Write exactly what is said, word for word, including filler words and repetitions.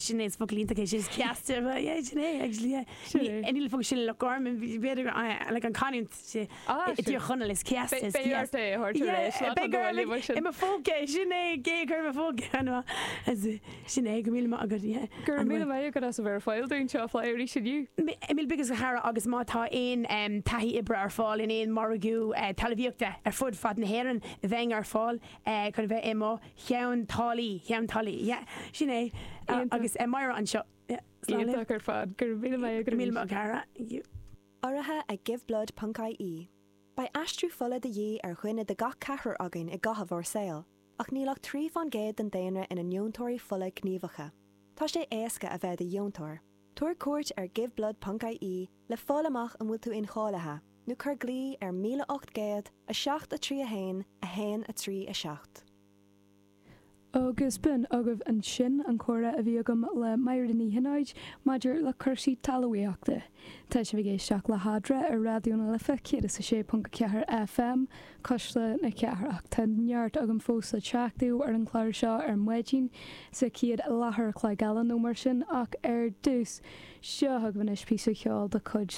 Sin é is focal iontach é sin is céasta yeah, sin é actually yeah. Sin é. Níl focal sin le Loch Garman b'fhéidir like an canúint Ah, i dTír Chonaill is céasta is Beidh ort é a thabhairt ar ais lá Beidh an bhaile mar sin. i mo phóca sin é gé gur mo phóca sin é go míle maith agat yeah. Go raibh míle maith agat as a bheith ar fáil dúinn seo fly arís inniu. Míle buíochas a chara agus má tá aon um, taithí oibre ar fáil in aon margadh uh, talmhaíochta ar fud fad na hÉireann bheinn ar fáil uh, chun bheith i mo cheann tálaí cheann tálaí yeah, sin é uh, Iontach. agus uh, Máire anseo yeah, slán libh. Iontach ar fad go raibh míle maith agat Míle arís. maith cara. Thank you. Urraithe ag giveblood.ie. Beidh aistriú fola de dhíth ar dhuine de gach ceathrar againn i gcaitheamh ár saoil, ach níl ach trí faoin gcéad den daonra ina ndeontóirí fola gníomhacha. Tá sé éasca a bheith i do dheontóir. Tabhair cuairt ar giveblood.ie le fáil amach an bhfuil tú incháilithe, nó cuir glao ar míle ocht gcéad a seacht a trí a haon a haon a trí a seacht. Agus b'in agaibh ansin an comhrá a bhí agam le Máire Ní Chinnéide maidir le cúrsaí talmhaíochta. Tá sibh ag éisteacht le hEadra ar Raidió na Life céad is a sé ponc ceathair FM Cuisle na Cathrach. Tá neart agam fós le teachtú ar an chlár seo ar maidin sa chéad leathuair a chloig eile nó mar sin ach ar dtús seo agaibh anois píosa ceoil de chuid